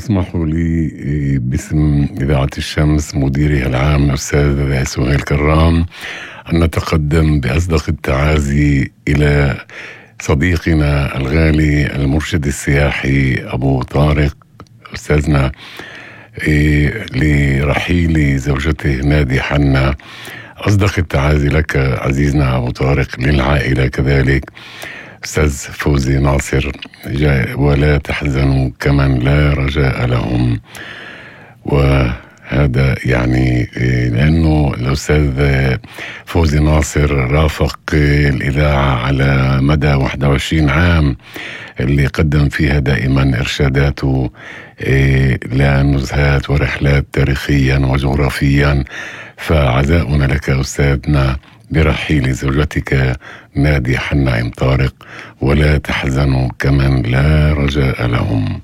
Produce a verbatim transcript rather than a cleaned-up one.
اسمحوا لي باسم إذاعة الشمس مديرها العام الأستاذ سهيل كرام أن نتقدم بأصدق التعازي إلى صديقنا الغالي المرشد السياحي أبو طارق أستاذنا لرحيل زوجته نادي حنا. أصدق التعازي لك عزيزنا أبو طارق، للعائلة كذلك أستاذ فوزي ناصر، ولا تحزنوا كمن لا رجاء لهم. وهذا يعني لأنه الأستاذ فوزي ناصر رافق الإذاعة على مدى واحد وعشرين عام اللي قدم فيها دائما إرشاداته لنزهات ورحلات تاريخيا وجغرافيا. فعزاؤنا لك أستاذنا برحيل زوجتك نادي حنا إم طارق، ولا تحزنوا كمن لا رجاء لهم.